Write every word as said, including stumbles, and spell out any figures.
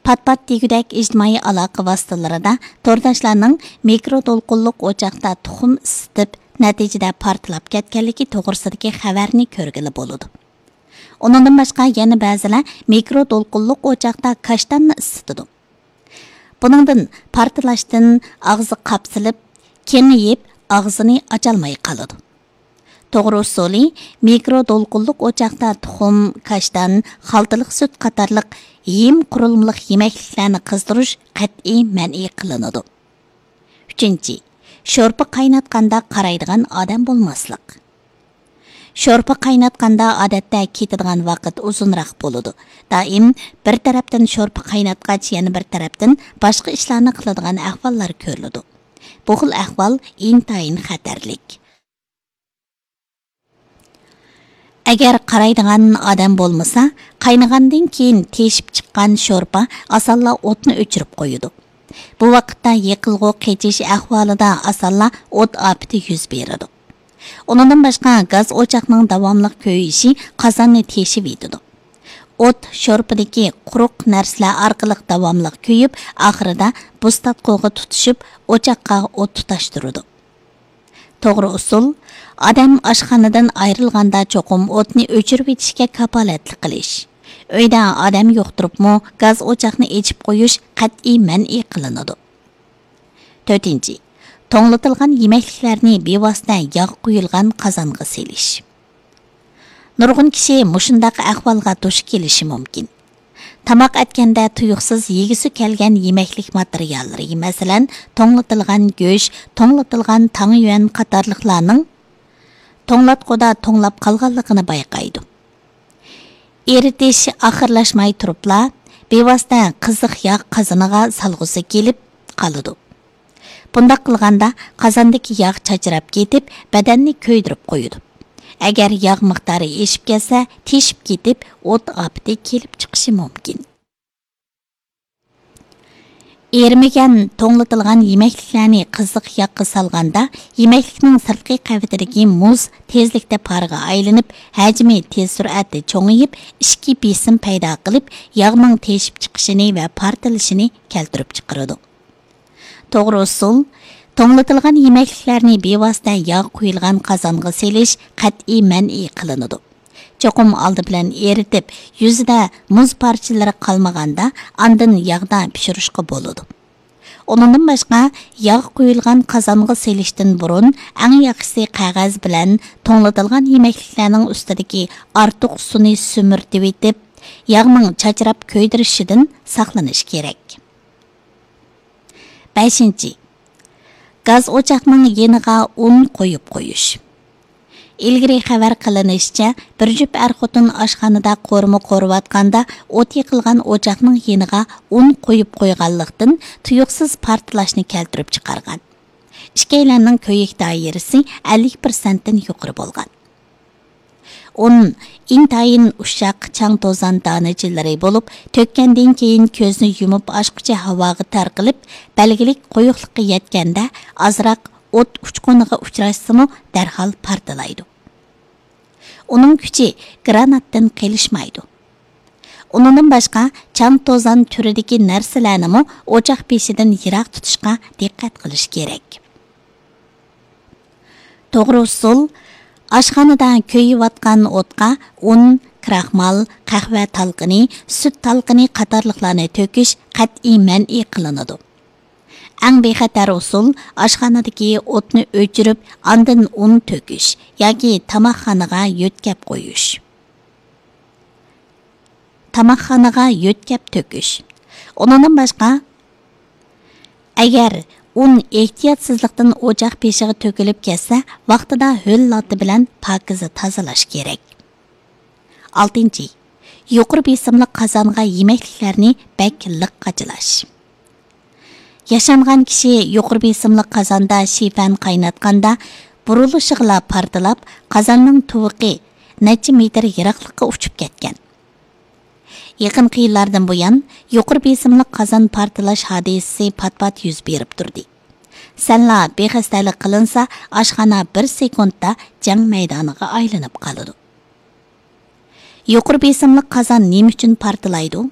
پات-پات دېگۈدەك ئىجتىمائىي ئالاقە ۋاسىتىلىرىدا تورداشلارنىڭ مىكرو دولقۇنلۇق ئوچاقتا تۇخۇم ئىسسىتىپ، نەتىجىدە پارتلاپ كەتكەنلىكى توغرىسىدىكى خەۋەرنى كۆرگىلى بولىدۇ. ئۇنىڭدىن باشقا يەنە بەزىلەر مىكرو دولقۇنلۇق ئوچاقتا كاشتاننى ئىسسىتىدۇ. بۇنىڭدىن پارتلاشتىن ئاغزى قاپسىلىپ، كېڭىيىپ، ئاغزىنى ئاچالماي قالىدۇ. توغرا ئۇسۇلى، مىكرو دولقۇنلۇق ئوچاقتا تۇخۇم، كاشتان، خالتىلىق سۈت قاتارلىق ھىم قۇرۇلمىلىق يېمەكلىكلەرنى قىزدۇرۇش قەتئىي مەنئى قىلىنىدۇ. ئۈچىنچى، شورپا قايناتقاندا قارايدىغان ئادەم بولماسلىق. شورپا قايناتقاندا ئادەتتە كېتىدىغان ۋاقىت ئۇزۇنراق بولىدۇ. دائىم بىر تەرەپتىن شورپا قايناتقاچ، يەنە بىر تەرەپتىن باشقا ئىشلارنى قىلىدىغان ئەھۋاللار كۆرۈلىدۇ. بۇ خىل ئەھۋال ئىنتايىن خەتەرلىك. ئەگەر قارايدىغان ئادەم بولمىسا، قاينىغاندىن كېيىن تېشىپ چىققان شورپا ئاسانلا ئوتنى ئۆچۈرۈپ قويىدۇ. بۇ ۋاقىتتا يېقىلغۇ قېچىش ئەھۋالىدا ئاسانلا ئوت ئاپىتى يۈز بېرىدۇ. ئۇنىڭدىن باشقا، گاز ئوچاقنىڭ داۋاملىق كۆيۈشى قازاننى تېشىۋېتىدۇ. ئوت شورپىدىكى قۇرۇق نەرسىلەر ئارقىلىق داۋاملىق كۆيۈپ، ئاخىرىدا بۇز تارتقۇغا تۇتىشىپ، ئوچاققا ئوت تۇتاشتۇرىدۇ. توغرا ئۇسۇل، ئادەم ئاشخانىدىن ئايرىلغاندا چوقۇم ئوتنى ئۆچۈرۈۋېتىشكە كاپالەتلىك قىلىش. ئۆيدە ئادەم يوق تۇرۇپمۇ گاز ئوچاقنى ئېچىپ قويۇش قەتئىي مەنئى قىلىنىدۇ. تۆتىنچى، توڭلىتىلغان يېمەكلىكلەرنى بىۋاسىتە ياغ قۇيۇلغان قازانغا سېلىش. نۇرغۇن كىشى مۇشۇنداق ئەھۋالغا دۇچ كېلىشى مۇمكىن. تاماق ئەتكەندە تۇيۇقسىز يېگۈسى كەلگەن يېمەكلىك ماتېرىياللىرى، مەسىلەن، توڭلىتىلغان گۆش، توڭلىتىلغان تاڭيۈەن قاتارلىقلارنىڭ توڭلاتقۇدا توڭلاپ قالغانلىقىنى بايقايدۇ. ئېرىتىش ئاخىرلاشماي تۇرۇپلا، بىۋاسىتە قىزىق ياغ قازىنىغا سالغۇسى كېلىپ قالىدۇ. بۇنداق قىلغاندا، قازاندىكى ياغ چاچراپ كېتىپ، بەدەننى كۆيدۈرۈپ قويىدۇ. ئەگەر ياغ مىقدارى ئېشىپ كەتسە، تېشىپ كېتىپ، ئوت ئاپىتى كېلىپ چىقىشى مۇمكىن. ئېرىمىگەن توڭلىتىلغان يېمەكلىكلەرنى قىزىق ياغقا سالغاندا، يېمەكلىكنىڭ سىرتقى قەۋىتىدىكى مۇز تېزلىكتە پارغا ئايلىنىپ، ھەجمى تېز سۈرئەتتە چوڭىيىپ، ئىچكى بېسىم پەيدا قىلىپ، ياغنىڭ تېشىپ چىقىشىنى ۋە پارتلىشىنى كەلتۈرۈپ چىقىرىدۇ. توغرا ئۇسۇل، توڭلىتىلغان يېمەكلىكلەرنى بىۋاسىتە ياغ قۇيۇلغان قازانغا سېلىش قەتئىي مەنئى قىلىنىدۇ. چوقۇم ئالدى بىلەن ئېرىتىپ، يۈزىدە مۇز پارچىلىرى قالمىغاندا، ئاندىن ياغدا پىشۇرۇشقا بولىدۇ. ئۇنىڭدىن باشقا، ياغ قۇيۇلغان قازانغا سېلىشتىن بۇرۇن، ئەڭ ياخشىسى قەغەز بىلەن توڭلىتىلغان يېمەكلىكلەرنىڭ ئۈستىدىكى ئارتۇق سۇنى سۈمۈرتۈۋېتىپ، ياغنىڭ چاچراپ كۆيدۈرۈشىدىن ساقلىنىش كېرەك. بەشىنچى، گاز ئوچاقنىڭ يېنىغا ئۇن قويۇپ قويۇش. ئىلگىرى خەۋەر قىلىنىشىچە، بىر جۈپ ئەر-خوتۇن ئاشخانىدا قورۇما قورۇۋاتقاندا، ئوت يېقىلغان ئوچاقنىڭ يېنىغا ئۇن قويۇپ قويغانلىقتىن، تۇيۇقسىز پارتلاشنى كەلتۈرۈپ چىقارغان. ئىككىيلەننىڭ كۆيۈك دائىرىسى ئەللىك پىرسەنتتىن يۇقىرى بولغان. ئۇن ئىنتايىن ئۇششاق چاڭ-توزان دانىچىلىرى بولۇپ، تۆككەندىن كېيىن كۆزنى يۇمۇپ ئاچقۇچە ھاۋاغا تارقىلىپ، بەلگىلىك قويۇقلۇققا يەتكەندە، ئازراق ئوت ئۇچقۇنىغا ئۇچراشسىمۇ، دەرھال پارتلايدۇ. ئۇنىڭ كۈچى گراناتتىن قېلىشمايدۇ. ئۇنىڭدىن باشقا، چاڭ-توزان تۈرىدىكى نەرسىلەرنىمۇ ئوچاق بېشىدىن يىراق تۇتۇشقا دىققەت قىلىش كېرەك. توغرا ئۇسۇل، ئاشخانىدا كۆيۈۋاتقان ئوتقا ئۇن، كراخمال، قەھۋە تالقىنى، سۈت تالقىنى قاتارلىقلارنى تۆكۈش قەتئىي مەنئى قىلىنىدۇ. ئەڭ بىخەتەر ئۇسۇل، ئاشخانىدىكى ئوتنى ئۆچۈرۈپ، ئاندىن ئۇن تۆكۈش ياكى تاماقخانىغا يۆتكەپ قويۇش. تاماقخانىغا يۆتكەپ تۆكۈش. ئۇنىڭدىن باشقا، ئەگەر ئۇن ئېھتىياتسىزلىقتىن ئوچاق بېشىغا تۆكۈلۈپ كەتسە، ۋاقتىدا ھۆل لاتا بىلەن پاكىزە تازىلاش كېرەك. ئالتىنچى، يۇقىرى بېسىملىق قازانغا يېمەكلىكلەرنى بەك لىق قاچىلاش. ياشانغان كىشى يۇقىرى بېسىملىق قازاندا شىفەن قايناتقاندا، بۇرۇلۇشىغىلا پارتلاپ، قازاننىڭ تۇۋىقى نەچچە مېتىر يىراقلىققا ئۇچۇپ كەتكەن. يېقىنقى يىللاردىن بۇيان، يۇقىرى بېسىملىق قازان پارتلاش ھادىسىسى پات-پات يۈز بېرىپ تۇردى. سەنلا بىخەستەلىك قىلىنسا، ئاشخانا بىر سېكۇنتتا جەڭ مەيدانىغا ئايلىنىپ قالىدۇ. يۇقىرى بېسىملىق قازان نېمە ئۈچۈن پارتلايدۇ؟